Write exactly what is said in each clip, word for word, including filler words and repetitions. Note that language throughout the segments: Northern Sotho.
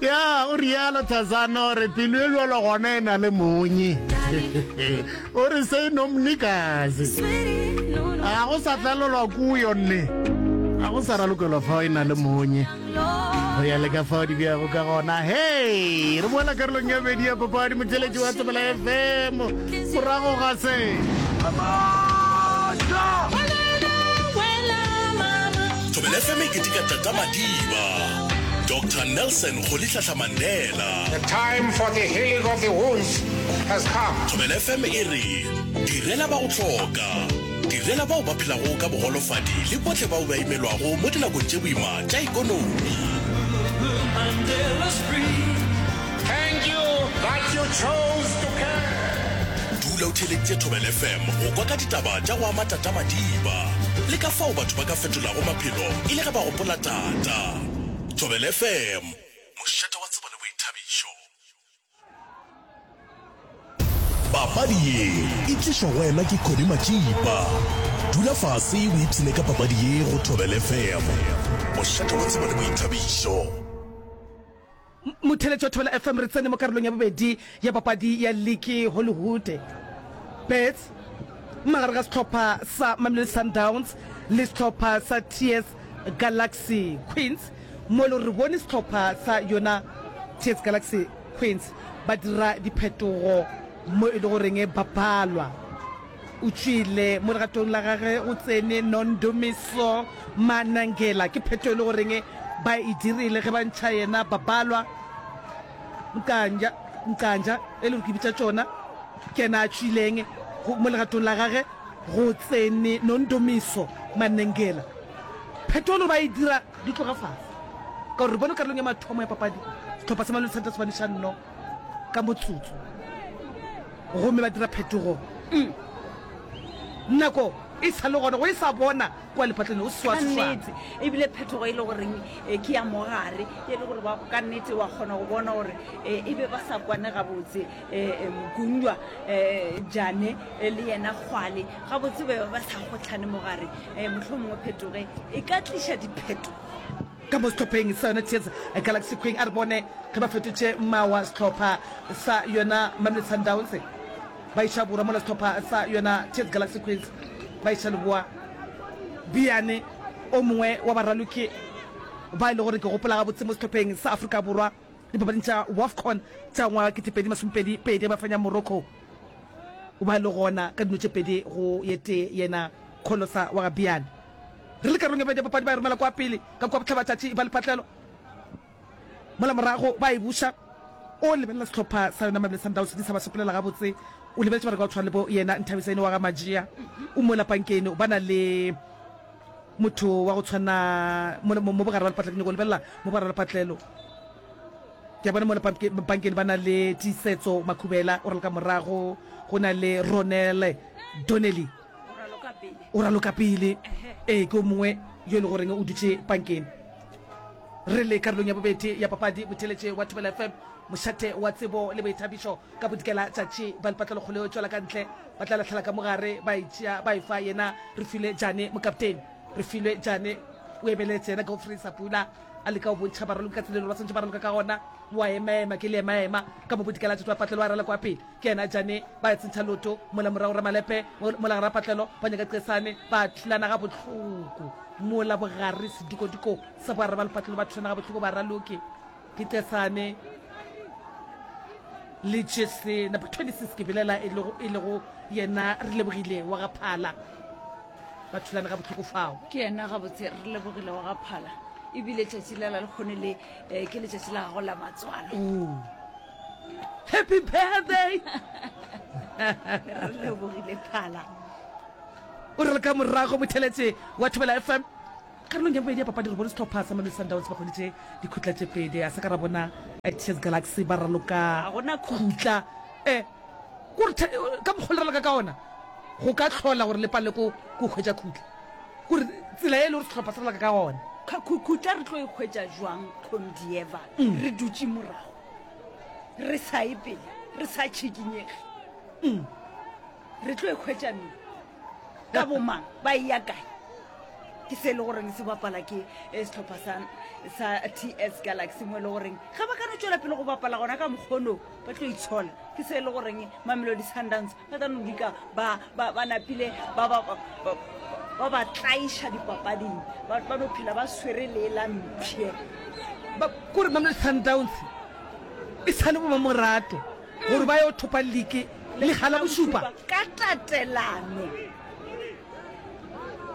Ya, o rialo Thazana, o re pelo e bjalo gona e na le monye. O re se no mnikazi. A go sa tlalelwa kuyo nne. A go sa ralokelwa fao e na le monye. Go ya le ka fao di bjago ka gona. Hei, re boela karolong ya bobedi ya papadi motheletši wa Thobela F M. Morago ga se. Thobela F M e keteka Tata Madiba, Doctor Nelson Rolihlahla Mandela. The time for the healing of the wounds has come. Thobela F M e re direla ba go hloka, direla bao ba phelago ka bogolofadi le bohle bao ba imelwago mo dinakong tše boima tša ekonomi. Thank you that you chose to care. Dula o theeleditše Thobela F M go kwa ka ditaba tša go ama Tata Madiba le ka fao batho ba ka fetolago maphelo e le ge ba gopola Tata. Thobela F M, mošate wa tsebo le boithabišo. Papadi ye e tlišwa go wena ke Connie Matšipa. Dula fase o ipshine ka papadi ye go Thobela F M, mošate wa tsebo le boithabišo. Motheeletši wa Thobela F M, re tsene mo karolong ya bobedi ya papadi ya liki Hollywood Bets magareng ga sehlopha sa Mamelodi Sundowns le sehlopha sa T S Galaxy Queens, mo e le gore re bone sehlopha sa yona T S Galaxy Queens ba dira diphetogo mo e le goreng ba balwa. O tšwile mo legatong la gage go tsene Nondumiso Manangela, ke pheto e le goreng ba e dirile ge ba ntšha yena Babalwa Mkanja, Mkanja e le gore ke bitša tšona, ke yena a tšwileng mo legatong la gage go tsene Nondumiso Manengela. Pheto e le gore ba e dira di tloga fase, ka gore re bone karolong ya mathomo ya papadi sehlopha sa Mamelodi Sundowns ba neša nno ka motsotso gomme ba dira phetogo. Mm. Nako e sa le gona go e sa bona kua lepatlelong o swa Ka swa. nnete, ebile phetogo e le goreng eh, ke ya mogare, e le gore ba ka nnete wa kgona go bona gore eh, e be ba sa kwane gabotse. Eh, eh, Mokungwa, eh, Jane, eh, le yena Kgwale gabotse ba be ba sa kgohlane mogare. Eh, mohlomongwe phetoge e ka tliša diphetogo. Ka mo sehlopheng sa yona T S Galaxy Queen, a re bone ge ba fetotše mawa sehlopha sa yona Mamelodi Sundowns ba iša borwa, mola sehlopha sa yona T S Galaxy Queens ba iša leboa. Biane o mongwe wa baraloki ba e le gore ke gopola gabotse mo sehlopheng sa Afrika Borwa dipapading tša WAFCON tša ngwaga ketepedi masomepedi pedi ba fenya Morocco, o ba le gona ka dino tše pedi go ye tee yena Kholosa wa ga Biane. Re le karolong ya bobedi ya papadi ba e romela kwa pele ka kua bohlabatšatši ba lepatlelo, mola morago ba e buša. O lebelela sehlopha sa yona Mamelodi Sundowns di sa ba sepelela gabotse. O lebeletše bareka go tshwana le bo yena Nthabisane wa ga Majia o mola pankeng, ba na le motho wa go tshwana mo, mo, mo bogare ba lepatlelo. Ke nyako lebelela mo bogare ba lepatlelo, ke a bona mo pankeng ba na le Tiisetso Makhubela o raloka morago, go na le Ronel Donnelly o raloka pele. Ee, ke o mongwe yo e le goreng o dutše pankeng. Re le karolong ya bobedi ya papadi, motheeletše wa Thobela F M, mošate wa tsebo le boithabišo ka bodikela tšatši ba lepatlelo kgolo yo tšwela ka ntle, ba tla lahlela ka mogare, ba e tšea ba e fa yena Refilwe Jane, mokaptene Refilwe Jane o emeletše yena Godfrey Sapula a leka go bontšha baraloki ka tsela e le gore ba swantše ba raloka ka gona. Wa emaema ke le emaema ka mo bodikela tšatši ba patlelo a rala kwa pele, ke yena Jane ba tsentšha loto mola morago Ramalepe mola gara patlelo ba nyaka Qesane ba thulana ga bohloko mola bogare sedikodiko sa bogare ba lepatlelo ba thulana ga bohloko baraloki ke Qesane le Jesse number twenty-six ke belela e lego e lego yena re lebogile wa ga Phala ba thulane ga bohloko fao. Ke yena gabotse re lebogile wa ga Phala, ebile tšatši la la lekgone le eh, ke letšatši la gago la matswalo. Happy birthday. Re lebogile Phala. O re le ka morago motheletše wa Thobela F M karolong ya bobedi ya papadi re bone sehlopha sa Mamelodi Sundowns ba hweditše dikhutla tše pedi, a sa ka ra bona T S Galaxy ba raloka Ga gona khutla. Eh, kore ka mokgwa le raloka ka ona go ka hlola gore le palele ko ko hwetša khutla, kore tsela e le gore sehlopha se raloka ka gona. Khutla re tlo e hwetša jwang Condieva re dutše morago re sa ye pele re sa tšhikinyege? Re tlo e hwetša neng? Ka bomang ba e ya kae? Ke se e le goreng se bapala ke eh, sehlopha sa sa T S Galaxy, mo e le goreng ga ba ka no tšwela pele go bapala gona ka mokgono ba tlo itshola. Ke se e le goreng Mamelodi Sundowns ba tla no dika ba ba ba napile ba ba ba ba ba tlaiša dipapading, ba ba no phela ba swere le la mpšhe. Ba kore Mamelodi Sundowns e sa le bo mamorato gore ba yo thopa league le gala bošupa ka tatelano.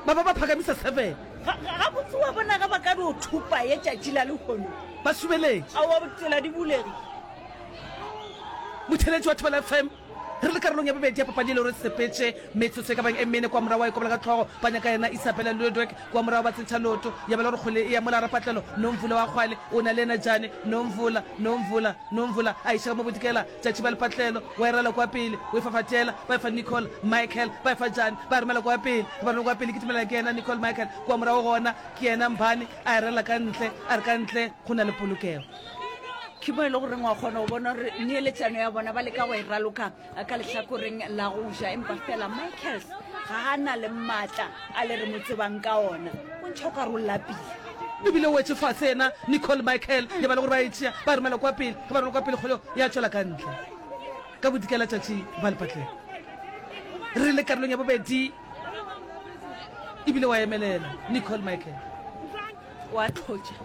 Ba ba ba phakamisa seven. Ga botse wa bona ga ba ka no thopa ye tšatši la lehono. Ba subeletše. Aowa, tsela di bulege. Motheeletši wa Thobela F M, re le karolong ya bobedi ya papadi e le gore sepetše metsotso e ka bang e mene kwa morago wa ikobela ka hlogo ba nyaka yena Isabella Ludwig kwa morago ba tsentšha leoto ya bela gore kgwele e ya mola rapatlelo Nomvula wa kgwale o na le yena Jane Nomvula Nomvula Nomvula a iša ka mo bodikela tšatši ba lepatlelo wa e rala kwa pele o e fafatela ba e fa Nicole Michael ba e fa Jane ba e romela kwa pele ba romela kwa pele kitimela ke yena Nicole Michael kwa morago gona ke yena Mbane a e rala ka ntle a re ka ntle go na le polokego. Ke mo e le goreng wa kgona go bona gore neeletšano ya bona ba leka go e raloka ka lehlakoreng la go ja, empa fela Michaels ga a na le maatla a le re mo tsebang ka ona, o ntšha o ka re o lapile. Ebile o wetše fase yena Nicole Michael, ya ba le gore ba e tšea ba e romela kwa pele, ge ba romela kwa pele kgoleo ya tšwela ka ntle ka bodikela tšatši ba lepatlelo. Re le karolong ya bobedi ebile wa emelela Nicole Michael. Wa tlhotša.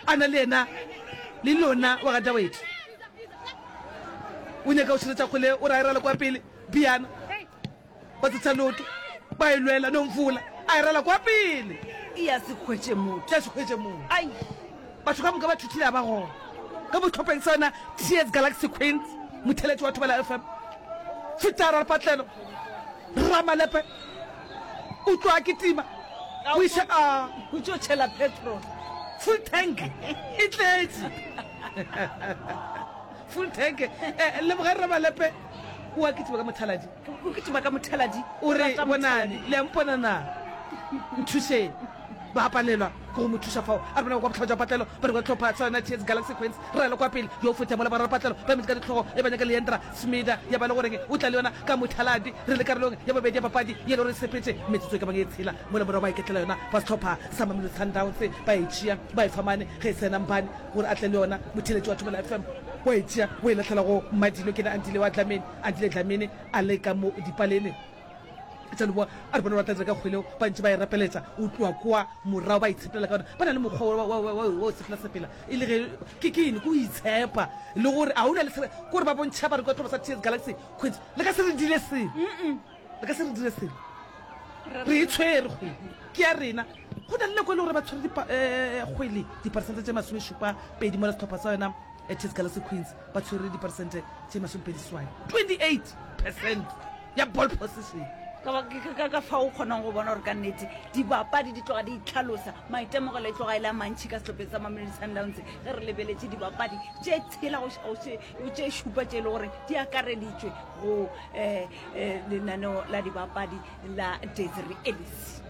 A na le yena le lona wa ga Dawedi. O nyaka go širetša kgole, o re a e rala kwa pele, Biana ba tsetša leoto, ba e lwela, Nomvula a e rala kwa pele. E ya se hwetše motho. Ya se hwetše motho. Ai. Batho ka moka ba thuthile a ba gona. Ka bohlopeng sa yona Tears Galaxy Queens, motheeletši wa Thobela F M, Fetara Lepatlelo, Ramalepe, o tloga kitima, o iša a. O tšo tšhela petrol. Full tank e tletše. Full tank. Eh, leboga Ramalepe, o a kitima ka mothaladi. O kitima ka mothaladi. O re, bonane, le a mpona na? Nthušeng. Ba palelwa ke go mo thuša fao. A re bona kwa bohlaba jwa patlelo, ba re kwa tlhopha sa yona Tears Galaxy Queens, re kwa pele, yo feta mola ba patlelo, ba emetše ka ditlhogo, e ba nyaka Leandra Smida, ya ba le goreng o tla le yona ka mothaladi. Re le karolong ya bobedi ya papadi ye le gore sepetše metsotso e ka bang e tshela mola morago ba iketlela yona ba sehlopha sa Mamelodi Sundowns, ba e tšea ba e fa mane ge e sena Mbane gore a tle le yona. Motheeletši wa Thobela F M wa e tšea o e lahlela go Madilo, ke yena Andile wa Dlamini, Andile Dlamini a le ka mo dipalene tša leboa, a re bona ba tla dira ka kgwele ba ntše ba e rapeletša o tloa kwa morago ba itshepelela ka yona. Ba na le mokgwa wa, wa, wa, wa, wa sepela sepela e le ge ke ke eng ke o itshepa le gore a o na le sere kore ba bontšha ba re kwa tlhoba sa Tears Galaxy Queens le ka se re dire selo, le ka se re dire selo, re e tshwere kgwele ke ya rena. Go na le nako e le gore ba tshwere dipa, eh, kgwele diperesente tše masomešupa pedi mola sehlopha sa yona Tears Galaxy Queens ba tshwere diperesente tše masomepedi seswai, twenty-eight percent ya ball possession. Ka, ka, ka fao o kgonang go bona gore ka nnete dibapadi di tloga di itlhalosa, maitemogelo e tloga e le a mantši ka sehlopheng sa Mamelodi Sundowns ge re lebeletše dibapadi tše tshela go go tše šupa tše e le gore di akareditšwe go eh, eh, lenaneo la dibapadi la Desiree Ellis.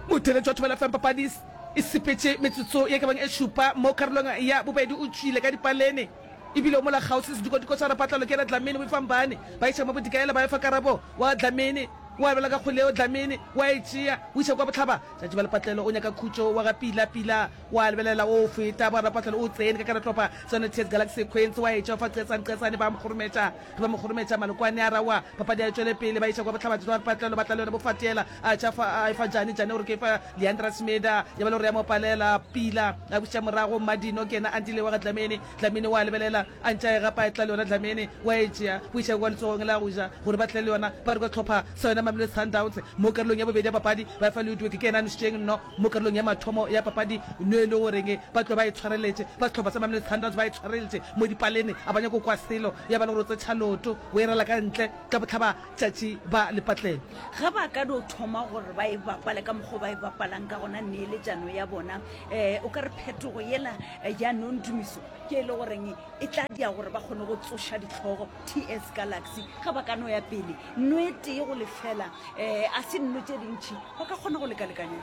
Motheeletši wa Thobela F M papadi e sepetše metsotso ye ka bang e šupa mo karolong ya bobedi, o tšwile ka dipalene ebile o mola kgauswi sedikwadiko sa rapatlalo ke yena Dlamini o efa Mbane ba iša mo bodikaela ba efa karabo wa Dlamini wa bela ka kgwele yeo Dlamini wa e tšea o iša kwa bohlaba tšatši ba lepatlelo o nyaka khutšo wa ga Pila Pila wa lebelela o feta ba rapatlelo o tsene ka karatlopa tsone Tears Galaxy Queens wa e tšea fa Qesane Qesane ba mo kgorometša ge ba mo kgorometša malokwane a rawa papadi a e tšwele pele ba iša kwa bohlaba tšatši ba lepatlelo ba tla le yona bofatiela a tša fa a e fa Jane Jane o re ke fa Leandra Smeda ya ba le gore ya mo palela Pila a buša morago Madino ke yena Andile wa ga Dlamini Dlamini wa lebelela a ntše a e gapa e tla le yona Dlamini wa e tšea o iša kwa letsogong la go ja gore ba tle le yona ba re kwa tlhopha sa yona Mamelodi Sundowns mo karolong ya bobedi ya papadi ba fa Ludwig ke yena a nošitšeng nno mo karolong ya mathomo ya papadi no e le goreng ba tlo ba e tshwareletše ba sehlopha sa Mamelodi Sundowns ba e tshwareletše mo dipalene a ba nyako kwa selo ya ba le gore o tsetšha loto o e rala ka ntle ka bohlaba tšatši ba lepatlelo. Ge ba ka no thoma gore ba e bapale ka mokgwa ba e bapalang ka gona neeletšano ya bona, um o ka re phetogo yela ya Nondumiso ke e le goreng e tla dia gore ba kgone go tsoša ditlhogo T S Galaxy ge ba ka no ya pele nno e tee go lefela, um a se nno tše dintši ba ka kgona go lekalekanya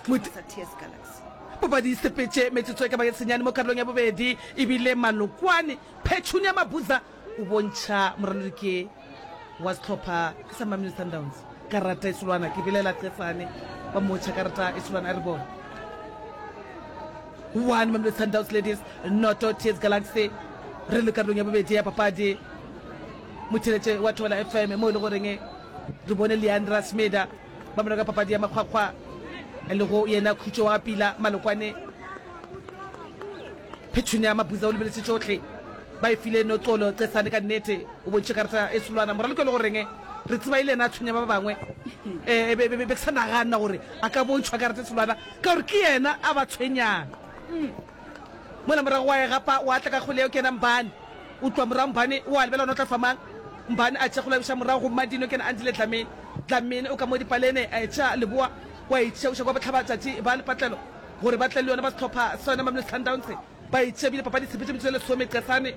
di sa T S Galaxy. Papadi e sepetše metsotso e ka ba ye senyane mo karolong ya bobedi, ebile Malokwane Petunia Mabuza o bontšha moralodi ke wa sehlopha ke sa Mamelodi Sundowns karata e solwana ke belela Qesane Ba motšha karata e solwana, a re bone. One Mamelodi Sundowns Ladies, noto T S Galaxy. Re le karolong ya bobedi ya papadi, motheletše wa Thobela F M, mo e le goreng re bone Leandra Smeda ba mona ka papadi ya makgwakgwa, e lego yena Khutšo wa Pila Malokwane. Petunia Mabuza o lebeletše tšohle, ba e file Noxolo Cesane. Ka nnete o bontšhe karata e solwana moraloki e le goreng re tseba e le yena a tshwenya ba bangwe. um be be ke sa nagana gore a ka bontšhwa karata e solwana, ka gore ke yena a ba tshwenyang mola morago. Wa e gapa, wa tla ka kgole eo, ke yena Mbane. O tloa morago Mbane, wa lebela ona o tla fa mang. Mbane a tšea kgole, a buša morago go Madino, ke yena Andile Dlamini. Dlamini o ka mo dipalene, a etša leboa, wa e tšea uša kwa bohlaba tšatši ba lepatlelo gore ba tle le yona ba sehlopha sa yona Mamelodi Sundowns. Ba e tšea bile papadi tshepetše metsotso e lesome. Qesane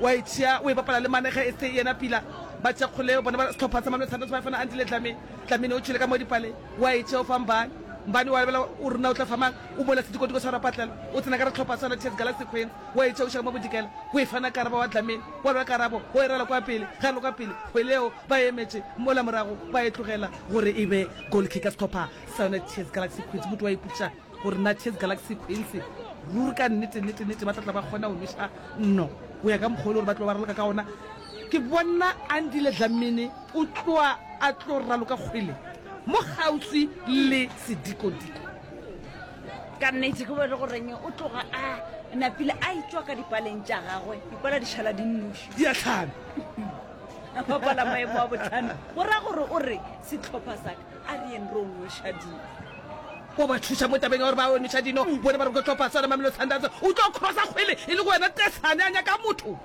wa e tšea, o e bapala le mane ge e se yena Pila. Ba tšea kgole bona ba sehlopha sa Mamelodi Sundowns, ba e fana Andile Dlamini. Dlamini o tšwele ka mo dipale, wa e tšea, o fa Mbane. Mbane wa lebela o rena o tla fa mang, o mola sedikotiko sa rapatlelo, o tsena ka re tlhopha sa yona T S Galaxy Queens, wa e tšea uša ka mo bodikela, o e fana Karabo wa Dlamini. Wa lwa Karabo, o e rela kwa pele, ge a le kwa pele kgwele eo ba emetše mola morago, ba e tlogela gore e be goal kick ka sehlopha sa yona T S Galaxy Queens. Motho wa ipotšiša gore na T S Galaxy Queens ruri ka nnete nnete nnete ba tla tla ba kgona go nweša nno go ya ka mokgwa o le gore ba tlo ba raloka ka ona. Ke bona Andile Dlamini o tloa a tlo raloka kgwele mo kgauswi le sedikodiko. Ka nnete ke bone goreng o tloga a napile a etswa ka dipaleng tša gagwe, dipala di šala di nnoši. Di a tlhame. A bapala maemo a botlhano, go ra gore o re setlhopha saka a re yeng re o nweša dino. O ba thuša mo tabeng ya gore ba nweša dino bone ba re ke tlhopha sona Mamelodi Sundowns. O tlo crossa kgwele e le go wena Tesane, a nyaka motho,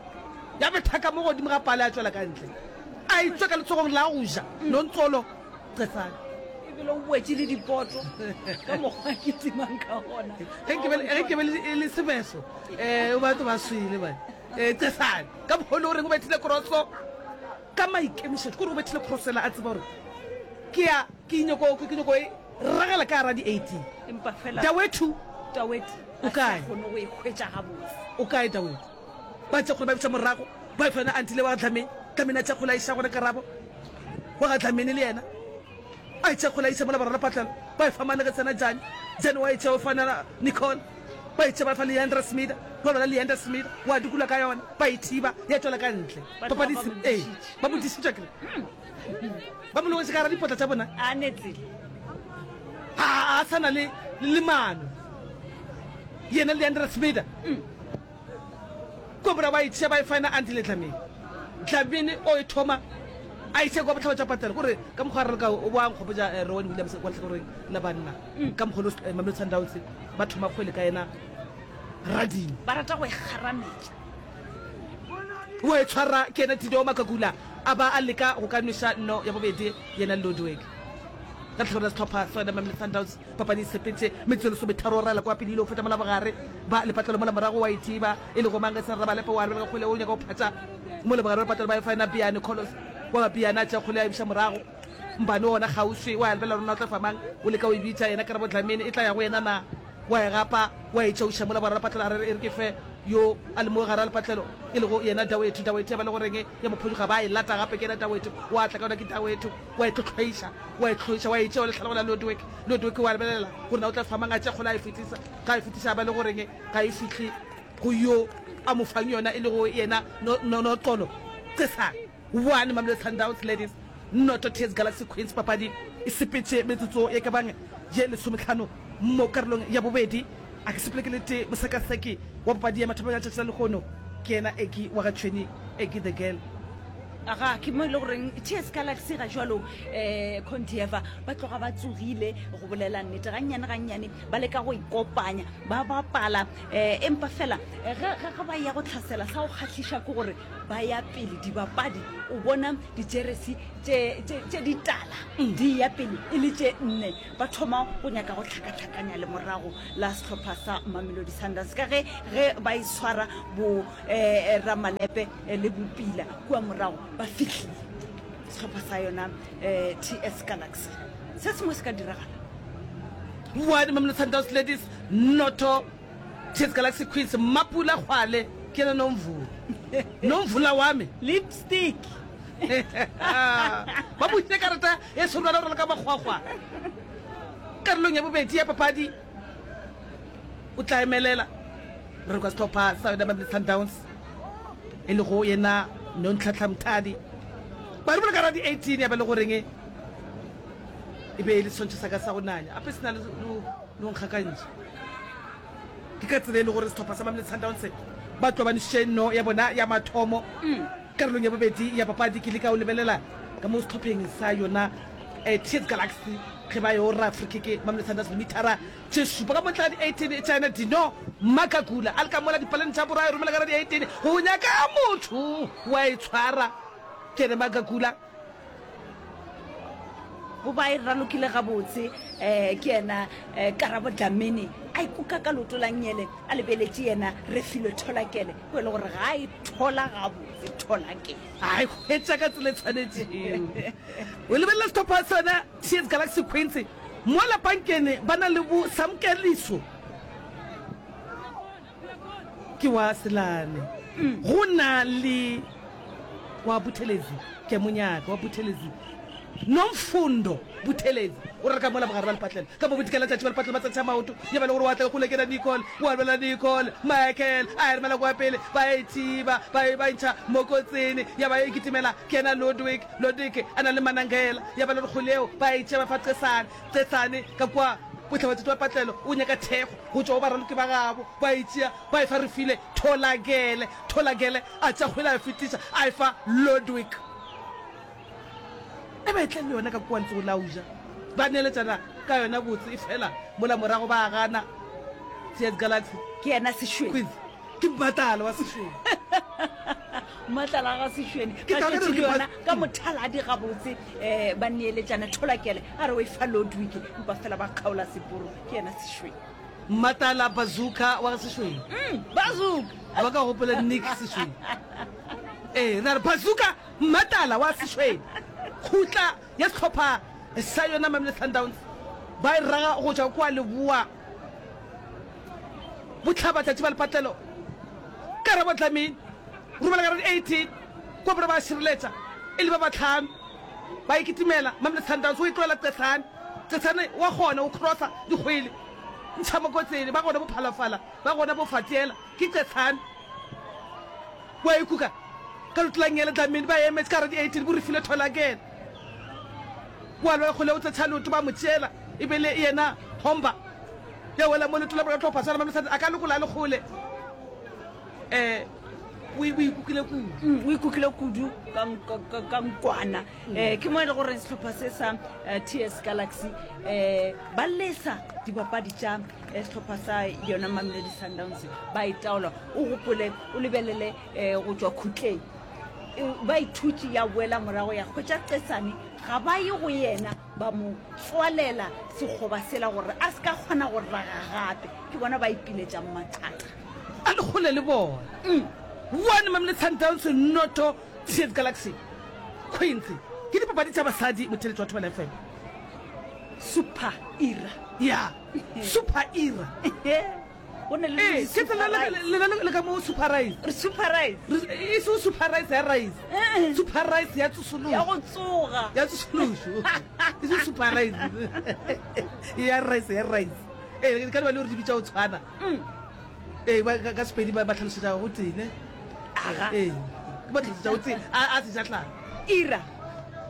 ya bethaka mo godimo ga pale, a tswela ka ntle, a etswa ka letsogong la go ja Nontsolo Cesane. Ebile o wetse le dipoto ka mokgwa ke timang ka gona. Ge ke be le sebeso um batho ba swele bane. um Cesane ka mokgwa o le goreng o bethile crosso ka maikemišetšo, kore o bethile crossela a tseba gore ke ya ke nyako ke nyako e ragela ka gara di-eighteen. Empa fela Dawethu Taweti O kae? Kgone go e hwetša gabotse. O kae Dawethu? Ba tša kgole ba biša morago, ba fana Antile wa ga Dlamini. Dlamini a tša kgole a iša gona Karabo wa ga Dlamini, le yena a tša kgole a iša mola boraro patlelo, ba e fa mane ge tsena Jane. Jane wa e tšea, o fana Nicole, ba e tšea ba fa Leandra Smida. Ba bona Leandra Smida wa dukula ka yona, ba e thiba, ya tswela ka ntle. Ba papadi tloga ba mo ee dišitše. Ba mo dišitše kere ba mo logetse ka gara dipotla tša bona. A netsele. A a sa na le le mano yena Leandra Smida. Ko bora ba e tšea ba e fana Andile Dlamini. Dlamini o e thoma a itše kwa botlhaba tša patela, kore ka mokgwa a raloka o boa nkgopotša eh, Rowan Williams kwa lehlakoreng la banna, ka mokgwa o Mamelodi Sundowns ba thoma kgwele ka yena Radimo. Ba rata go e kgarametša. O e tshwara ke yena Tido Makakula, a ba a leka go ka nweša nno ya bobedi yena Ludwig ka lehlakore la sehlopha sa yona Mamelodi Sundowns. Papadi e sepetse metsotso lesometharo, raela kwa pele ile go feta mola bogare ba lepatlelo, mola morago wa ithiba e le go mang se Rabalepe. Wa lebelega kgwele, o nyaka go phatša mo lebogare ba lepatlelo, ba e fana Biane Colos wa Biane a tšea kgwele a e buša morago. Mbane ona kgauswi wa lebelela rona o tla fa mang, o leka o e bitša yena Karabo Dlamini, e tla ya go yena na? Wa e gapa, wa e tšauša mola bogare ba lepatlelo, a re e re ke fe yo a le mo gare a lepatlelo e lego yena Dawethu. Dawethu ya ba le goreng ya mophoduga, ba e lata gape ke yena Dawethu, wa tla ka yona ke Dawethu, wa e tlhotlhoiša, wa e tlhoiša, wa e tšea wa lehlala go la Ludwig. Ludwig wa lebelela gore na o tla fa mang, a tšea kgole a e fetisa, ga e fetiša a ba le goreng ga e fihle go yo a mo fang yona e lego yena Noxolo Cesane. One Mamelodi Sundowns Ladies, noto T S Galaxy Queens. Papadi e sepetše metsotso ye ka bang ye lesometlhano mo karolong ya bobedi. A ke sepele ke le tee. Mosekaseki wa papadi ya mathomong ya tšatši la lehono ke yena Eki wa ga Tšhweni, Eki the Girl. Aga ke mo e le goreng T S Galaxy ga jalo um Condieva ba tloga ba tsogile go bolela nnete, gannyane gannyane ba leka go ikopanya, ba bapala um empa fela ge ge ba ya go tlhasela, sa go kgahliša ke gore ba ya pele dibapadi, o bona dijeresi tše tše ditala di ya pele e le tše nne, ba thoma go nyaka go tlhakatlhakanya le morago la sehlopha sa Mamelodi Sundowns, ka ge ge ba e tshwara bo um Ramalepe le Bopila kua morago, ba fihlile sehlopha sa yona um T S Galaxy, se sengwe se ka diragala. One Mamelodi Sundowns Ladies, noto T S Galaxy Queens. Mapula Kgwale ke yena Nomvula, Nomvula wa me. Lipstick. Ba bušitše karata e solwana gore le ka makgwakgwa. Karolong ya bobedi ya papadi o tla emelela re kwa sehlopha sa yona Mamelodi Sundowns e lego yena Nonhlanhla Mthadi. Ba re boloka radi eighteen ya ba le goreng e be e le seswantšho sa ka sa go nanya ape se na le go nkgakantšha. Ke ka tsela e le gore sehlopha sa Mamelodi Sundowns ba tlo ba nešitše no ya bona ya mathomo karolong ya bobedi ya papadi. Ke leka go lebelela ka mo sehlopheng sa yona T S Galaxy ge ba yo ra free kick Mamelodi Sundowns dimithara tše šupa ka motla di eighteen tša yena Dino Makakula a le ka mola dipaleng tša borwa e romela ka ra di eighteen go nyaka motho wa e tshwara ke yena Makakula. Go ba e ralokile gabotse um ke yena um Karabo Dlamini a ikuka ka leoto la nngele a lebeletše yena Refilwe Tholakele o e le gore ga a e thola gabotse Tholakele. A e hwetša ka tsela e tshwanetšego. O lebelela sehlopha sa yona T S Galaxy Queens mola pankeng ba na le bo Samkeliso ke wa Selane go na le wa Buthelezi ke a mo nyaka wa Buthelezi Nomfundo Buthelezi o reka mola bogare ba lepatlelo ka mo bodikela tšatši ba lepatlelo ba tsentšha maoto ya ba le gore wa tla kgole ke na Nicole wa lwela Nicole Michael a e romela kwa pele ba e thiba ba e ba ntšha mo kotsini ya ba e kitimela ke yena Ludwig Ludwig a na le Manangela ya ba le gore kgole eo ba e tšea ba fa Qesane Qesane ka kwa bohlabatšatši ba patlelo o nyaka thekgo go tšwa go baraloki ba gabo ba e tšea ba e fa Refile Tholakele Tholakele a tšea kgwele a e fetiša a e fa Ludwig E ba e tla le yona ka kua letsogo la go ja, ba neeletšana ka yona botse, efela mola morago ba gana. T S Galaxy. Ke yena Sešweni. Queens. Ke Mmatlala wa Sešweni. Mmatlala ga Sešweni. Ke Ba tla šetše re le ke yona ba- ka mothaladi gabotse, um ba neeletšana. Tholakele a re o e fa Ludwig, empa fela ba kgaola seporo. Ke yena Sešweni. Mmatala Bazooka wa ga Sešweni. Mm, Bazooka. A ba ka gopola Nick Sešweni. Ee, re a re Bazooka Mmatala wa Sešweni. Kgutla ya sehlopha sa yona Mamelodi Sundowns ba e raga go tšwa kua leboa bohlabatšatši ba lepatlelo. Karabo Dlamini romela ka round eighteen kua borwa ba šireletša e le ba bahlano ba e kitimela. Mamelodi Sundowns o e tlohela Qesane. Qesane wa kgona go crossa dikgwele ntšha mo kotseng ba gona bo Phalafala ba gona bo Fatiela ke Qesane wa e kuka ka leoto la nngele. Dlamini ba emetše ka gare di eighteen bo Refilwe Tholakele wa lwa kgole o tsetšha leoto ba mo tšeela e be le yena Homba ya wela mo leoto la bona tlhopha swana Mamelodi a ka lokola a le kgole eh o o ikukile kudu. Mm, o ikukile kudu ka nk-, ka, ka nkwana. Eh, ke mo e le gore sehlopha se sa, eh, T S Galaxy, eh, ba lesa dibapadi tša, eh, sehlopha sa yona Mamelodi Sundowns ba e taola. O gopole, o lebelele, eh, go tšwa khutleng. E, ba ithutše ya boela morago ya hwetša Qesane, ga ba ye go yena ba mo tswalela sekgoba sela gore a se ka kgona go raga gape. Ke bona ba ipiletšang mathata. A le kgole le bona. Mm. One Mamelodi Sundowns noto T S Galaxy Queens. Ke dipapadi tša basadi motheletši wa Thobela F M. Super Era. Ya, Super Era. Go na le Ee, di ke tsela super le, rice. le, le, le ka mo super rice. Re super rice. Re, e se super rice ya rice. Eh, eh. Super rice ya tsosološo. Ya go tsoga. Ya tsosološo. E se super rice. Ya rice, ya rice. Ee, ka lebaka le gore di bitša go tshwana. Mm. Ee, ba, ka, ka Sepedi ba, ba hlalosetša go tee, ne? Aga. Ee, ba hlalosetša go tee, a, a sejatlana. Ira.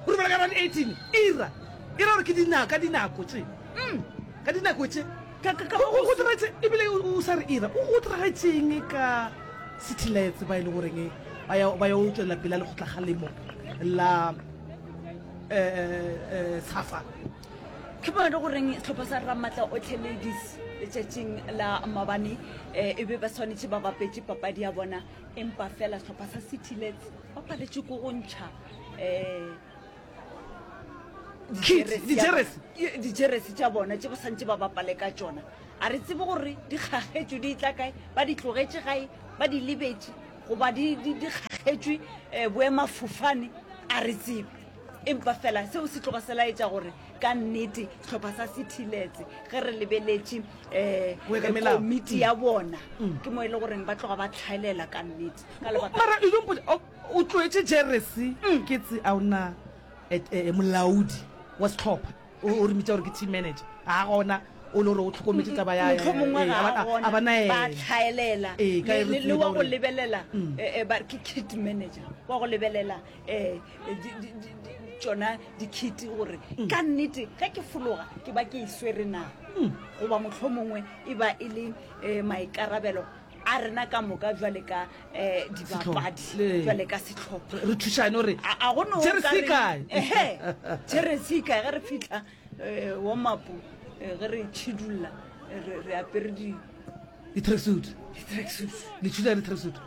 O re bala ka round eighteen, ira. Ira gore ke dinako, ka dinako tše. Mm. Ka dinako tše. Ka, ka, ka Go, go, go go diragetše, ebile o, o sa re ira, o go diragetšeng ka City Lights ba e le goreng ba ya, ba ya go tšwelela pele a lekgotlakgalemo la, eh, eh, Safa. Ke bona le goreng sehlopha sa Ramatla Otlhe Ladies letšatšing la mabane, eh, e be ba swanetše ba bapetše papadi ya bona, empa fela sehlopha sa City Lights ba paletše ko go ntšha, eh, Kit, dijeresi ya dijeresi. bona. Dijeresi tša bona tše ba santše ba bapale ka tšona. A re tsebe gore di kgagetšwe di tla kae, ba di tlogetše gae, ba di lebetše, goba di, di, di kgagetšwe, eh, boemafofane, a re tsebe. Empa fela seo se tloga se laetša gore ka nnete sehlopha sa City Lights ge re lebeletše, eh, Go ya ka melao. komiti ya bona, ke mo e le goreng ba tloga ba tlhaelela ka nnete. Ka lebaka Mara e don't put, o, o tloetše jeresi, ke tse a ona, eh, eh, molaodi wa sehlopha, o, o re mitša gore ke team manager. a gona o le gore o tlhokometše taba ya mohlomongwe ee, ga a ba- a gona a ba ba naena tlhaelela Ee, ka Le- e re le le tseba wa go gore- Mm. lebelela eh, eh, ba re ke kit manager wa go lebelela um tšona di-kit gore Mm. ka nnete ge ke fologa ke ba ke e swere na Mm. goba mohlomongwe e ba e le um maikarabelo a rena ka moka jwale ka um dibapadi Le- jwale ka setlhopha re thušane gore a a go no Jeresi e kae? ehe jeresi e kae ge re fitlha um warm-up eh, ge re tšhidulla eh, re re apere di di-tracksuit di-tracksuit le thuša di-tracksuit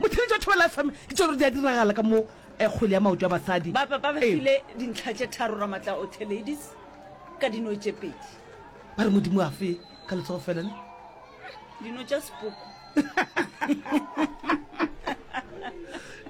motheletši wa Thobela F M ke tšone di a diragala ka mo eh, kgwele ya maoto a basadi ba ba ba ba Ee. file dintlha tše tharo Ramatla Othe Ladies ka dino tše pedi ba re modimo a fe ka letsogo fela ne dino tša sepoko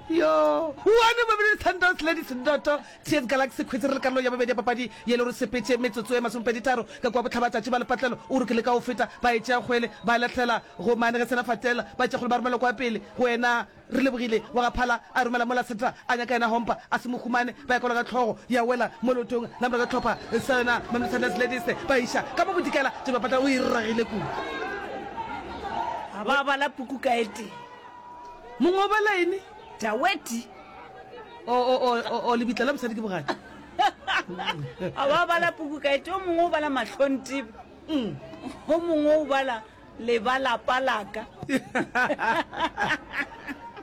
yo one Mamelodi Sundowns Ladies Ndoto T S Galaxy Queens re le karolo ya bobedi ya papadi ye le gore sepetse metsotso e masomepedi tharo ka kwa botlhabatšatši ba lepatlelo o re ke le ka go feta ba e tšea kgwele ba lahlela go mane ge sena fatela ba tšea kgwele ba romela kwa pele go wena re lebogile wa ga phala a romela mola seta a nyaka yena hompa a se mo humane ba ya kwala ka tlhogo ya wela mo leotong la morago tlhopha sa yona Mamelodi Sundowns Ladies ba iša ka mo bodikela tše bapatla o e ragile kudu ga ba bala puku ka e tee mongwe o bala ene daweti o o o o lebitla la mosadi ke bogadi ga ba bala puku ka e tee o mongwe o bala mahlontibe o mongwe o bala lebalapa laka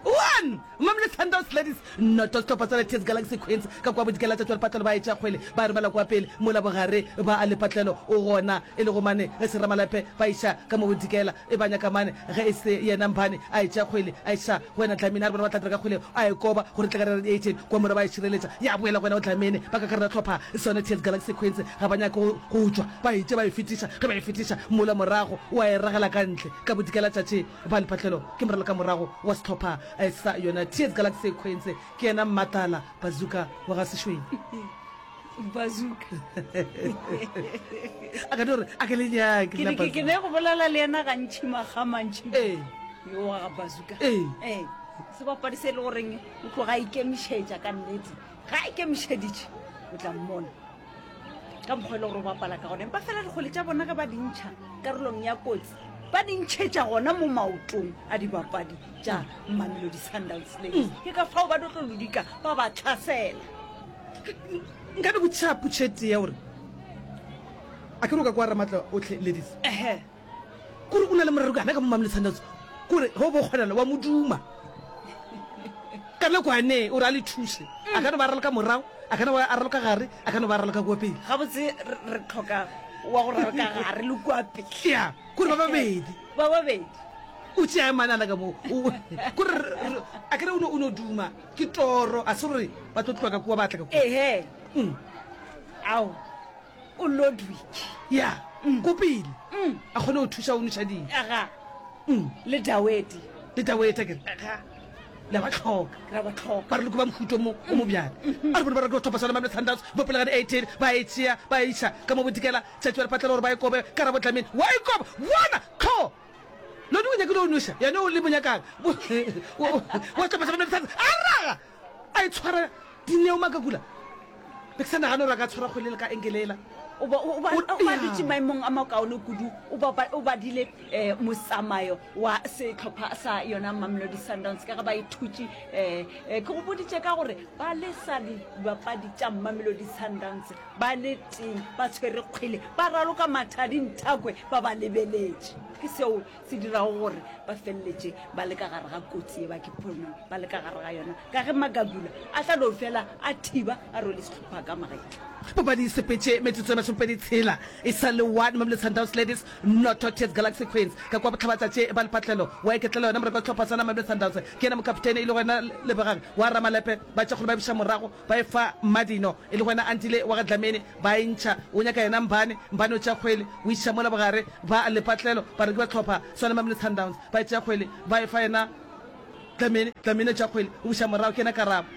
one Mamelodi Sundowns Ladies noto sehlopha sa T S Galaxy Queens ka kwa bodikela tša lepatlelo ba etša kgwele ba romela kwa pele mola bogare ba a lepatlelo o gona e le go mane ge seramalepe ba iša ka mo bodikela e ba nyaka mane ge e se yena Mphane a etša kgwele a iša go wena Dlamini a re bona ba tla dira ka kgwele a e koba gore tle ka re eighteen kwa mora ba e šireletša ya boela go wena o Dlamini ba ka karela tlhopha sone T S Galaxy Queens ga ba nyake go go tšwa ba itše ba e fetiša ge ba e fetiša mola morago wa e ragela ka ntle ka bodikela tšatši ba lepatlelo ke moralo ka morago wa sehlopha eh, sa yona T S Galaxy Queens ke yena Mmatala Bazooka wa ga Sešweng Bazooka a ka no re a ke le nyake ke nna ne ke- ke Bazooka. ne go bolela le yena gantši makga mantši Ee. yo wa ga Bazooka Ee. ee sebapadi se e le goreng o tloga a ikemišetša ka nnete ga a ikemišeditše o tla mmona ka mokgwa e le gore o bapala ka gona empa fela dikgwele tša bona ge ba di ntšha karolong ya kotsi ba di ntšhetša gona mo maotong a dibapadi tša Mamelodi Sundowns Ladies ke ka fao ba tlo tlo lodika ba ba tlhasela nka no botšiša potšhete ya gore a ke re o ka kwa Ramatla Otlhe Ladies ehe kore o na le morero kana ka mo Mamelodi Sundowns kore ge o bo kgonana wa moduma ka lekwane o re a le thuše a ka no ba raloka morago a ka no ba a raloka gare a ka no ba raloka kua pele gabotse re re tlhoka wa go raloka gare le kua pele ya kore ba babedi ba babedi o tšea manana ka moo O- kore re- re- a kere o no- o no duma ke toro a se gore ba tlo tloa ka kua ba tla ka kua ehe Mm. ao o Ludwig ya ko pele a kgone go thuša o noša ding aga Mm. le dawedi le taweta kere aga la ba tlhoka ra ba tlhoka ba re loko ba mohuto mo o mo bjale a re bone ba reka go thopa sona Mamelodi Sundowns bo pele ga di-eighteen ba e tšea ba e iša ka mo bodikela tšatši ba lepatlela gore ba e kobe ka rabo Dlamini wa e koba bona tlho lone o nyakile o noša yane o le monyakang wa tlhopha sa Mamelodi Sundowns a raga a e tshwara dineo makakula be ke sa nagane gore a ka tshwara kgwele le ka enkelela o ba o ba O- o ba ya. dutše maemong a makaone kudu o ba ba- o badile um motsamayo wa setlhopha sa yona Mamelodi Sundowns ka ge ba ithutše um ke go boditše ka gore ba lesa dibapadi tša Mamelodi Sundowns ba le teng ba tshwere kgwele ba raloka mathadi nthakwe ba ba lebeletše ke seo se dirago gore ba feleletše ba le ka gare ga kotsi e ba ke ponong ba le ka gare ga yona ka ge Makabula a tla no fela a thiba a rwele setlhopha ka magetla papadi e sepetše metsotso e masomepedi tshela e sa le one Mamelodi Sundowns Ladies noto T S Galaxy Queens ka kwa botlhabatšatši ba lepatlelo wa iketlela yona moreko wa sehlopha sa Mamelodi Sundowns ke yena mokaptene e le gona Lebogang wa Ramalepe ba tšea kgole ba biša morago ba e fa Madino e le gona Antile wa ga Dlamini ba e ntšha o nyaka yena Mbane Mbane o tšea kgwele o iša mola bogare ba lepatlelo ba re ke ba tlhopha sona Mamelodi Sundowns ba e tšea kgwele ba e fa yena Dlamini Dlamini o tšea kgwele o buša morago ke yena Karabo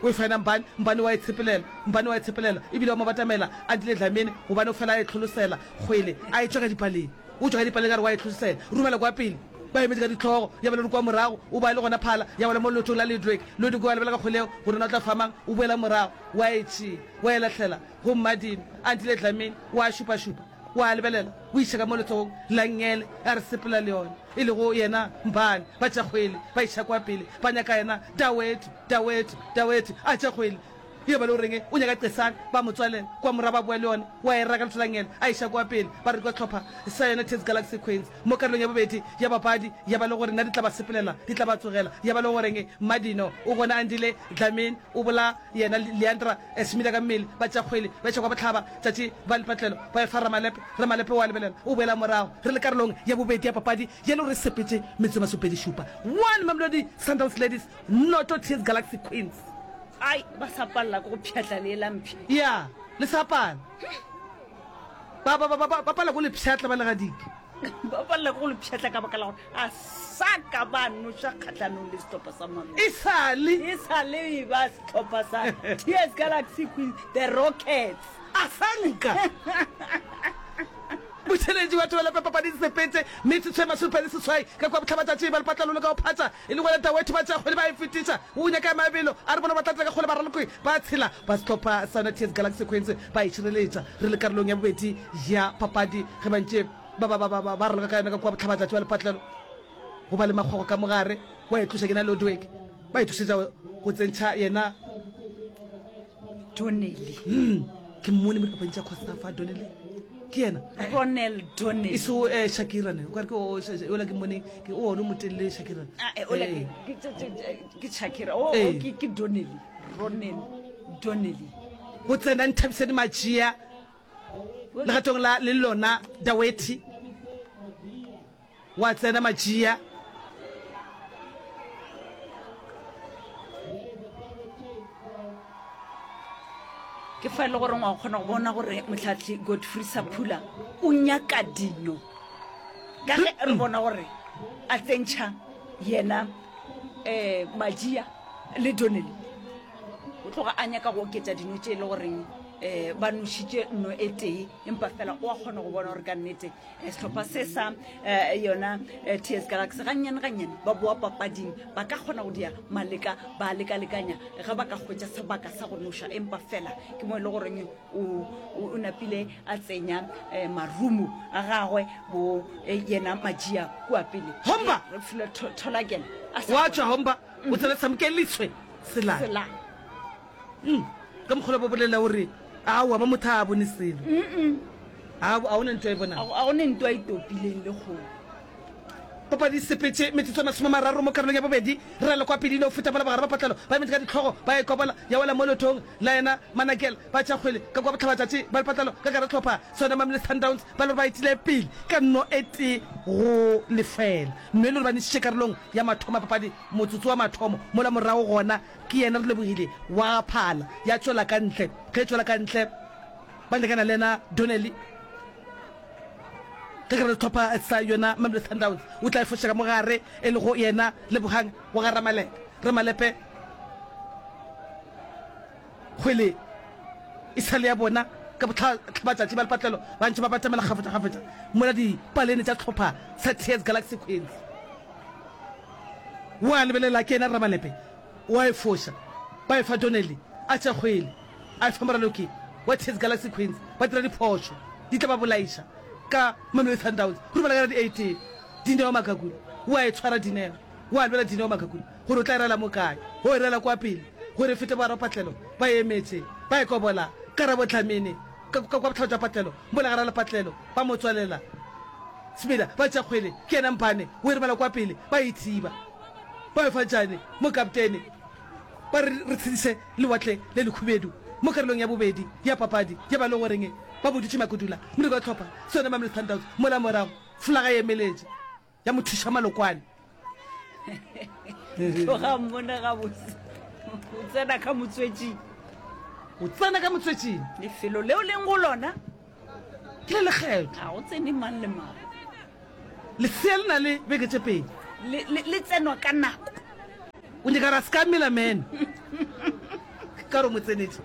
o e fa yena Mbane Mbane wa e tshepelela Mbane wa e tshepelela ebile wa mo batamela Antile Dlamini gobane o fela a e tlholosela kgwele a e tšwa ka dipaleng o tšwa ka dipaleng ka re wa e tlholosela romela kwa pele Ba emetše ka dihlogo, ya ba le kwa morago, o ba le gona phala, ya wela mo leotong la Ludwig. Ludwig wa lebelela ka kgwele yeo, gore na o tla fa mang, o boela morago, wa e tšea, wa e lahlela go Mmadimo. Andile Dlamini wa šupašupa, wa lebelela, o iša ka mo letsogong la nngele, a re sepela le yona, e lego yena Mbane. Ba tša kgwele, ba iša kwa pele, ba nyaka yena Dawetu, Dawetu, Dawetu, a tša kgwele. Ye ba le goreng o nyaka Qesane, ba mo tswalela kwa morago ba boa le yona, wa e raka letholangele a iša kwa pele, ba re kwa hlopha sa yona Ts Galaxy Queens mo karolong ya bobedi ya papadi, ya ba le gore na di tla ba sepelela, di tla ba tsogela, ya ba le goreng Mmadino o gona Andile Dlamini o bola yena Leandra Smida ka mmele, ba tšea kgwele ba iša kwa bohlaba tšatši ba lepatlelo ba e fa Ramalepe, Ramalepe wa lebelela o boela morago, re le karolong ya bobedi ya papadi ye le gore e sepetše metsotso e masomepedi šupa one Mamelodi Sundowns Ladies noto Ts Galaxy Queens. Ai, ba sa palela ke go pšhatla lee la mpša. Ya, le sa pala. Ba, ba, ba, ba, ba pala ko le pšhatla ba legadike. Ba palela ke go le pšhatla ka baka la gore a sa ka ba noša kgahlanong le sehlopha sa Mamelodi. E sa le. E sa le e ba sehlopha sa TS Galaxy Queens, the Rockets. A sa nka. Botheletši ba thobela papadi sepetse metsotso e masomepedi seswai ka kua bohlabatšatši ba lepatlelo le ka go phatša e le gona Dawethu ba tšea kgwele ba e fetiša o nyaka ya mabelo a re bona ba tla tla ka kgwele baraloki ba tshela ba sehlopha sa yona T S Galaxy Queens ba e šireletša re le karolong ya bobedi ya papadi ge ba ntše ba ba ba ba ba raloka ka yona ka kua bohlabatšatši ba lepatlelo go ba le makgwakgwa ka mogare wa e tloša ke na Ludwig ba itokišetša go tsentšha yena Donnelly. Hmm, ke mmone mo dipapading tša Cosafa Donnelly ke yena Ronel Donnelly. E so eh, Shakira ne o kare ke o ola ke mmone ke o one motelele Shakira. Ah, eh, ola ke ke Shakira. O eh. ke ke Donnelly. Ronel Donnelly. Go tsena Nthabiseni Majia legatong la le lona Daweti. Wa tsena Majia. Ke fa e le gore wa kgona go bona gore mohlahli Godfrey Saphula o nyaka dino ka ge re bona gore a tsentšha yena um Majia le Donnelly o tloga a nyaka go oketša dino tše e le goreng um ba nošitše nno e tee empa fela o a kgona go bona gore ka nnete Sehlopha se sa yona T S Galaxy gannyane gannyane ba boa papading, ba ka kgona go dia maleka ba lekalekanya ge ba ka hwetša sebaka sa go noša, empa fela ke mo e le goreng o, o napile a tsenya marumo a gagwe bo yena Majia kua pele. Homba! Re file Tholakele a sa Wa tšwa kgona. Homba, o tsena Samkelitswe Selane. Selane. Mm, ka mokgwa ba bolela o re aowa ba motho a bone selo. A a go ne ntwa e bonang. A go ne ntwa e topileng le kgomo. Papadi e sepetše metsotso e masome a mararo mo karolong ya bobedi. Re le kwa pele go feta mola bagare ba patlelo ba emetše ka dihlogo ba e kobola ya wela mo leotong la yena Manakel. Ba tšea kgwele ka kua bohlabatšatši ba lepatlelo ka gare hlopha sona Mamelodi Sundowns ba le gore ba etile pele ka nno e tee go lefela. Nno e le gore ba nešitše karolong ya mathomo ya papadi motsotso wa mathomo mola morago gona ke yena Relebogile wa phala ya tšwela ka ntle. Ge e tšwela ka ntle Ba lekana le yena Donnelly ka gare sehlopha sa yona Mamelodi Sundowns. O tla e foša ka mo gare e lego yena Lebohang wa ga Ramalepe. Ramalepe kgwele e sa le ya bona ka bohlabatšatši ba lepatlelo ba ntše ba batamela kgafetšakgafetša mola dipalene tša sehlopha sa T S Galaxy Queens. Wa lebelela ke yena Ramalepe wa e foša ba e fa Donnelly a tša kgwele. A efa moraloki wa T S Galaxy Queens ba dira diphošo di tla ba bolaiša ka Mamelodi Sundowns go rubela ka la di eighteen. Dineo Makakula o a e tshwara Dineo o a lwela Dineo Makakula gore o tla e rela mo kae o e rela kwa pele gore e fete bo Patlelo ba e emetše ba e kobola Karabo Dlamini ka kwa bohlaba jwa Patlelo mola gare Lepatlelo ba mo tswalela Smila ba tšea kgwele ke yena Mpane o e romela kwa pele ba e thiba ba e fa Jane mo kaptene Ba re re tshediše Lewatle le Lekhubedu mo karolong ya bobedi ya papadi ya ba le goreng ba boditše Makudula moleko wa hlopha sona Mamelodi Sundowns mola morago folaga e emeletše ya mo thuša Malokwane. Tloga mmone gabotse o tsena ka motswetšing. O tsena ka motswetšing. Lefelo leo leng go lona ke le lekgethwa. Ga go tsene mang le mang. Lesea le na le beke tše pedi. Le, le, le tsenwa ka nako. O nyaka gore a se ka mela meno. Ka gore o mo tsenetše.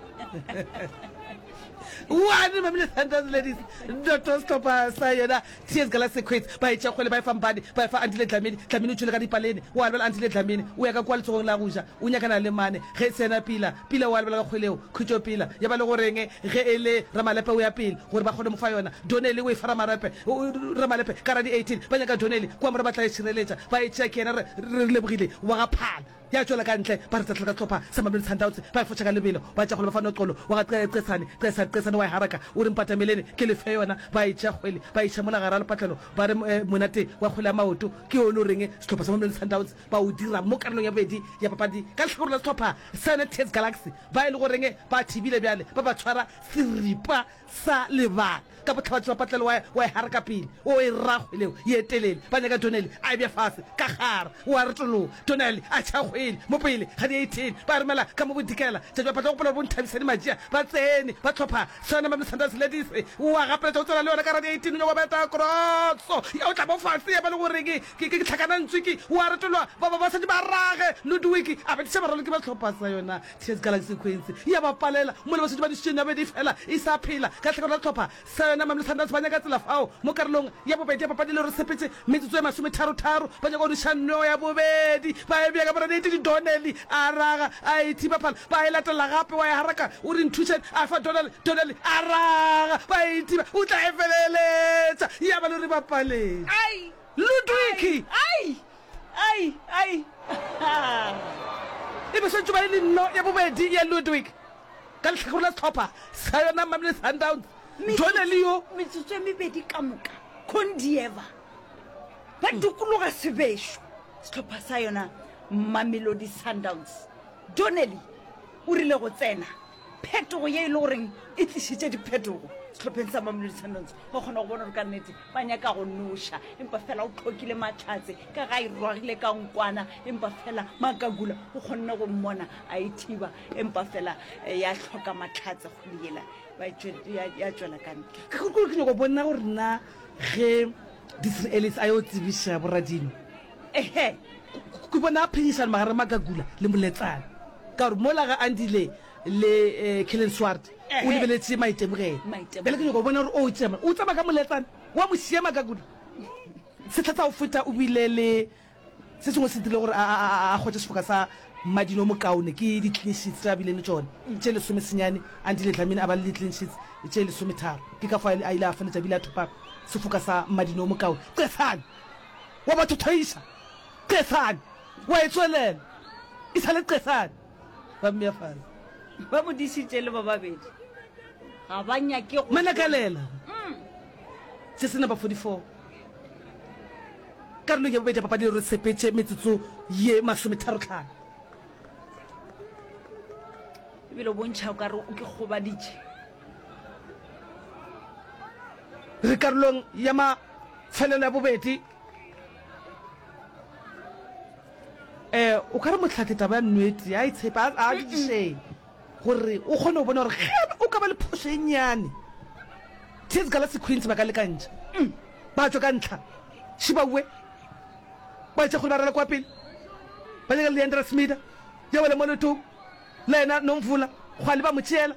One Mamelodi Sundowns Ladies noto sehlopha sa yona T S Galaxy Queens. Ba e tšea kgwele ba e fa Mbane, ba e fa Andile Dlamini. Dlamini o tšwele ka dipalene, o a lebela Andile Dlamini o ya ka kua letsogong la go ja, o nyakana le Mane. Ge e se yena Pila, Pila o a lebela ka kgwele yeo, Khutšo Pila. Ya ba le go reng ge e le Ramalepe o ya pele gore ba kgone mo fa yona. Donnelly o e fa Ramarepe, Ramalepe ka ra di eighteen ba nyaka Donnelly kua morago ba tla e šireletša, ba e tšea ke yena re re lebogile wa ga Phala. Ya tšwela ka ntle, ba re tsetlela ka sehlopha sa Mamelodi Sundowns, ba e foša ka lebelo, ba tšea kgwele ba fa Noxolo wa ga Qesane, Qesane, Qesane wa e haraka, o re mpatamelene ke le fe yona, ba e tšea kgwele, ba e iša mola gare ga lepatlelo, ba re monate wa kgwele ya maoto ke o le o reng sehlopha sa Mamelodi Sundowns ba o dira mo karolong ya bobedi ya papadi ka lehlakore la sehlopha sa yona T S Galaxy ba e le goreng ba thibile bjale ba ba tshwara seripa sa lebala ka bohlabatši ba patlelo wa, wa e haraka pele, o e ra kgwele ye telele, ba nyaka Donnelly a e bea fase ka gare, o a retologa, Donnelly a tšha kgwele mo pele ga di eighteen, ba romela ka mo bodikela, tšatši ba patla gopola gore bo Nthabiseni Majia ba tsene, ba hlopha sona Mamelodi Sundowns Ladies, o a gapeletša go tsena le yona ka gare ga di eighteen, o nyaka go beta kroso ya o tla mo fase ya ba le gore ke, ke, ke tlhakanantswiki, o a retologa, ba, ba, ba šetše ba rage, Ludwig a betiša baraloki ba hlopha sa yona T S Galaxy Queens ya ba palela mola ba šetše ba dišitše nabedi fela e sa phela ka tlhakore la sehlopha sa yona. Mamelodi Sundowns ba nyaka tsela fao mo karolong ya bobedi ya papadi le gore sepetse metsotso e masometharotaro ba nyaka go diša nno ya bobedi ba e bea ka boraneiti. Donnelly a raga a e thiba phala ba e latela gape wa e haraka o re nthušeng a fa Donnelly, Donnelly a raga ba e thiba o tla e feleletša ya ba le re ba paletše Ludwig. Ai! Ai! Ai! E be swantšwe ba e le nno ya bobedi ya Ludwig ka lehlakore la sehlopha sa yona Mamelodi Sundowns. Donnelly yo. Metsotso e mebedi ka moka, Condieva ba dikologa sebešo sehlopha sa yona Mamelodi Sundowns. Donnelly o rile go tsena phetogo ye e le goreng e tlišitše diphetogo sehlopheng sa Mamelodi Sundowns. Wa kgona go bona gore ka nnete ba nyaka go noša, empa fela o hlokile mahlatse ka ga e rwagile ka nkwana, empa fela Makagula o kgonne go mmona a e thiba, empa fela ya hloka mahlatse kgwele yela ba e ya tšwela ka ntle. Ke gore ke nyaka go bona gore na ge Disney Ellis a yo tsebiša boradino, Ehe. Ke bona phenyišano magareng Makagula le Moletsane, ka gore mola ga Andile le Kellen Swart o lebeletše maitemogelo. Bjale ke nyaka go bona gore o tšema o tsamaya ka Moletsane wa mo šia Makagula. Sehla sa go feta o bile le se sengwe se dirile gore a hwetše sefoka sa madino o mokaone ke di-clean sheets tše a bileng le tšona tše lesomesenyane. Andile Dlamini a ba le di-clean sheets tše lesometharo, ke ka fao a ile a feletša bile a thopa sefoka sa madino o mokaone. Qesane wa ba thothoiša, Qesane wa e tswelela, e sa le Qesane. Ba mmea fase. Ba mo dišitše le ba babedi, ga ba nyake go. Manakalela. Se se number forty-four. Karolong ya bobedi ya papadi re sepetše metsotso ye masometharo-tlhano. Ebile o bontšha o ka re o ke gobaditše. Re karolong ya mafelelo ya bobedi. Eh, o ka re mohlahli taba ya nnete a e tshepe, a a dišeng gore o kgone go bona gore ge o ka ba le phošo e nnyane, T S Galaxy Queens ba ka lekantšha, ba tšwa ka ntlha, Šibaue ba etša kgole ba rala kwa pele, ba nyaka Leandra Smida, ya wela mo leotong la yena Nomvula, Kgwale ba mo tšeela,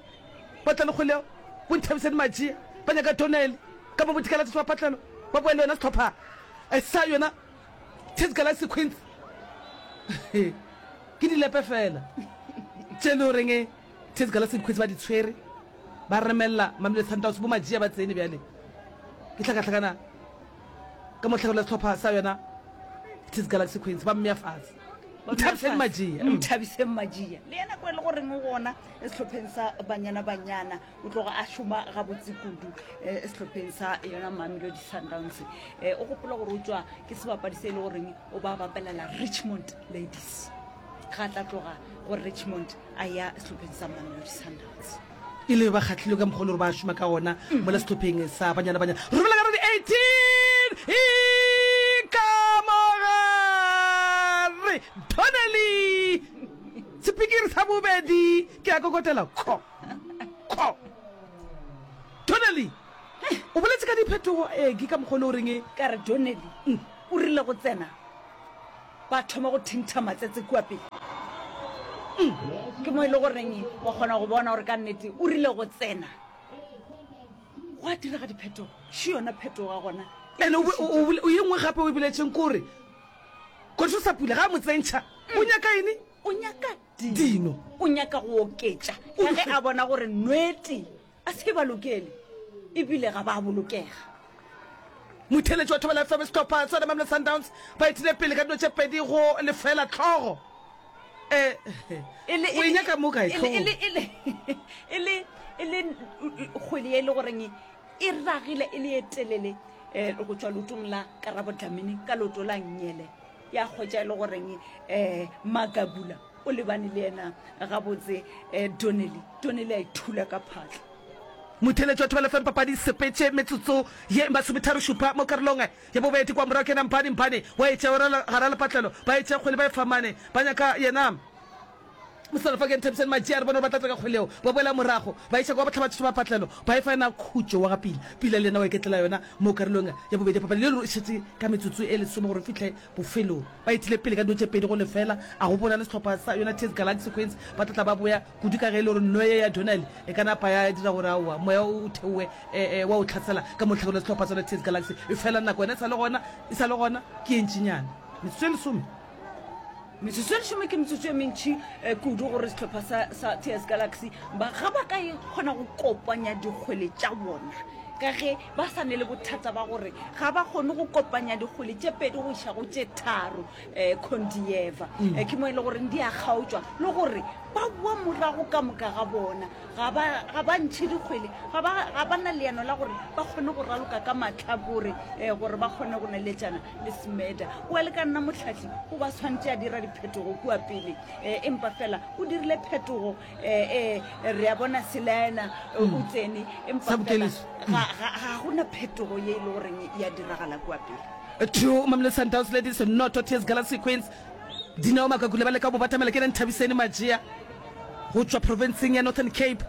ba tla le kgwele yeo, bo Nthabiseni Matšea, ba nyaka Donnelly, ka mo Bodikela Tšatši ba Patlelo, ba boya le yona sehlopha sa yona. T S Galaxy Queens ke dilepe fela tše le goreng T S Galaxy Queens ba di tshwere ba remelela Mamelodi Sundowns bo Majia ba tsene bjale ke hlakahlakana ka mohlakore la sehlopha sa yona T S Galaxy Queens ba mmea fase Nthabiseng Majia. Nthabiseng Majia le yena kwa e le goreng o gona sehlopheng sa Banyana Banyana o tloga a šoma gabotse kudu eh, sehlopheng sa yona Mamelodi Sundowns. Eh, o gopola gore o tšwa ke sebapadi se e le goreng o ba bapelela Richmond Ladies, ga tla tloga go Richmond a ya sehlopheng sa Mamelodi Sundowns. E le ba kgahlilwe ka mokgwa le gore ba šoma ka gona mola sehlopheng sa Banyana Banyana. Romela ka radi eighteen e ka mogare Donnelly sepikiri sa bobedi ke a kokotela kho kho Donnelly o boletse ka diphetogo ee ke ka mokgwa o le goreng e Ka re Donnelly o rile go tsena ba thoma go thintha matsetse kua pele. Ke mo e le goreng wa kgona go bona gore ka nnete o rile go tsena Gwa direga diphetogo, še yona phetogo ya gona. Ene o, o, o, o ye nngwe gape o e boletšeng kore Kgotso sa pula ga a mo tsentšha o nyaka eng? O nyaka dino. Dino. O nyaka go oketša ka ge a bona gore nwete a se ba lokele ebile ga ba bolokega. Motheeletši wa Thobela F M sehlopha sa Mamelodi Sundowns ba etile pele ka dino tše pedi go lefela hlogo. Eh, o e nyaka mo kae hlogo? E le, e le, e le, e le kgwele ye e le goreng e ragile e le ye telele eh, go tšwa leotong la Karabo Dlamini ka leoto la nnyele ya kgwetša e le goreng eh, Magagula o lebane le yena gabotse eh, Donnelly. Donnelly a ithula ka phatla. Motheeletši wa Thobela F M papadi sepetše metsotso ye masometharo šupa mo karolong ya bobedi kwa morago ke yena Mpane Mpane wa e tšea gara lepatlelo ba e tšea kgwele ba e fa mane ba nyaka yena Mosalafa ke Nthabiseni Matšea re bone gore ba tla tla ka kgwele yeo ba boela morago ba iša kwa bohlabatšatši ba patlelo ba e fa yena Khutšo wa ga Pila Pila le yena wa iketlela yona mo karolong ya bobedi ya papadi le e šetše ka metsotso e lesome gore fihle bofelong ba etile pele ka dino tše pedi go lefela a go bona le sehlopha sa yona T S Galaxy Queens ba tla tla ba boya kudu ka ge e le gore nno ye ya Donnelly e ka napa ya dira gore aowa moya o theowe e, e, wa o tlhasela ka mo lehlakoreng la sehlopha sa yona T S Galaxy e fela nako yona e sa le gona e sa le gona ke e ntšinyana metsotso e lesome. Metsotso e lesome ke metsotso e mentši kudu gore sehlopha sa, sa T S Galaxy ba ga ba ka e kgona go kopanya dikgwele tša bona ka ge ba sa ne le bothata ba gore ga ba kgone go kopanya dikgwele tše pedi go iša go tše tharo um Kondieva mm. Ke mo e le gore di a kgaotšwa le gore ba boa morago ka moka ga bona ga ba ga ba ntšhe dikgwele ga ba ga ba na leano la gore ba kgone go raloka ka mahlakore um gore ba kgone go neletšana le Smeda. O le ka nna mohlahli o ba tshwanetse a dira diphetogo kua pele um empa fela o dirile phetogo um re a bona Selaena o tsene empa fela ga ga gona phetogo ye e le goreng ya diragala kua pele. Two Mamelodi Sundowns Ladies noto T S Galaxy Queens Dineo Makakule ba leka go batamela ke Nthabiseni Majia go tšwa provinceng ya Northern Cape.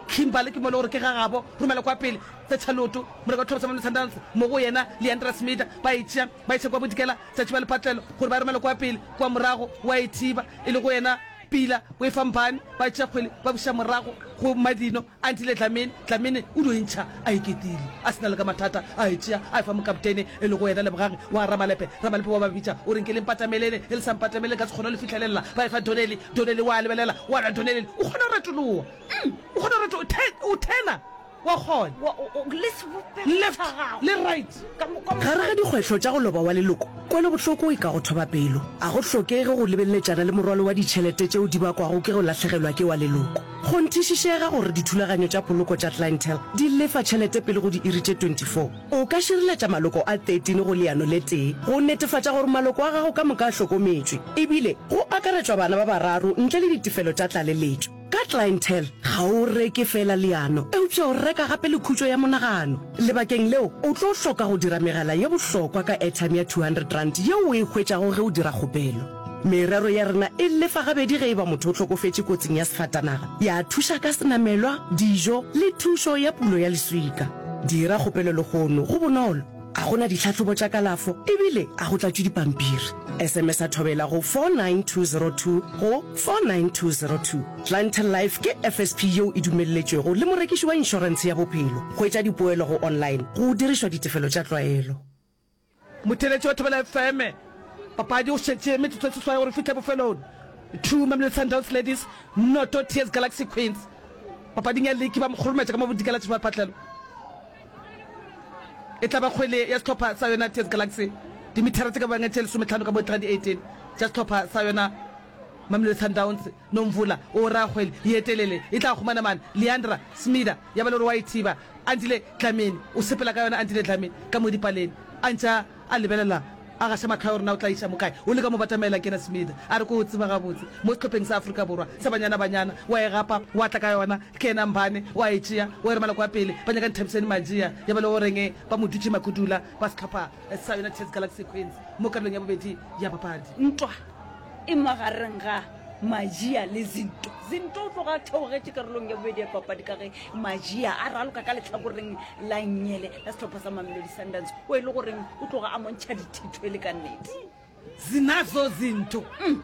Kimberley ke mo le gore ke gagabo romela kwa pele tsa Loto moreka tlhopha sa Mamelodi Sundowns mo go yena Leandra Smith ba e tšea ba iša kwa bodikela tšatši ba lepatlelo gore ba romela kwa pele kwa morago wa e thiba e le go yena Pila o e fa Mpane ba tšea kgwele ba buša morago go Madino Antile Dlamini Dlamini o dio intšha a iketile a sena le ka mathata a e tšea a e fa mokaptene e le go yena Lebogage wa Ramalepe Ramalepe wa ba bitša o reng ke le mpatamelene e le sa mpatamelene ka se kgone le fitlhelela ba e fa Donnelly Donnelly wa lebelela wa na Donnelly o kgona go retoloa o kgona go retoloa o thena wa kgona left le right. Gare ga dikgwehlo tša go loba wa leloko, kwelobohloko e ka go thoba pelo. A go hlokege go lebeleletšana le morwalo wa ditšhelete tšeo di bakwago ke go lahlegelwa ke wa leloko. Kgonthišišega gore dithulaganyo tša poloko tša Clientele di lefa tšhelete pele go diiri tše twenty-four. O ka šireletša maloko a thirteen go leano le tee go netefatša gore maloko a gago ka moka a hlokometšwe, ebile go akaretšwa bana ba bararo ntle le ditefelo tša tlaleletšo. Ka Clientele, ga o reke feela leano, eupša o reka gape le khutšo ya monagano. Lebakeng leo, o tlo hloka go dira megala ye bohlokwa ka airtime ya two hundred rand yeo o e hwetšago ge o dira kgopelo. Merero ya rena e lefa gabedi ge e ba motho o hlokofetše kotsing ya sefatanaga, ya thuša ka senamelwa, dijo le thušo ya pulo ya leswika. Dira kgopelo lehono, go bonolo. A go na ditlhahlobo tša kalafo ebile a go tlatšwe dipampiri. S M S a thobela go four nine two zero two go four nine two zero two. Clientele Life ke F S P yeo e dumelletšwego le morekiši wa inšorentshe ya bophelo. Hwetša dipoelo go online go dirišwa ditefelo tša tlwaelo. Motheeletši wa Thobela F M, papadi o šetše metsotso e seswai gore fihle bofelong. Two Mamelodi Sundowns Ladies, noto T S Galaxy Queens. Papading ya liki ba mo kgorometša ka mo bodikela tša patlelo. E tla ba kgwele ya sehlopha sa yona T S Galaxy dimithara tše ka bang tše lesometlhano ka mo di eighteen tša sehlopha sa yona Mamelodi Sundowns. Nomvula o ra kgwele ye telele e tla humana mane Leandra Smida ya ba le gore wa e thiba. Andile Dlamini o sepela ka yona. Andile Dlamini ka mo dipaleng a ntša a lebelela a gaša mahlo a gore na o tla iša mo kae. O leka mo batamela ke yena Smida a re ko o tseba gabotse mo sehlopheng sa Afrika Borwa sa Banyana Banyana wa e gapa wa tla ka yona ke yena Mbane wa e tšea wa e romela kwa pele ba nyaka Nthabiseni Majia ya ba le goreng ba mo dutše Makudula ba sehlopha sa yona T S Galaxy Queens mo karolong ya bobedi ya papadi. Ntwa e magareng ga Majia le Zinto. Zinto o tloga a theogetše karolong ya bobedi ya papadi ka ge Majia a raloka ka lehlakoreng la nnyele la sehlopha sa Mamelodi Sundowns o e le goreng o tloga a montšha dithitho e le ka nnete. Zinazo Zinto. Mm.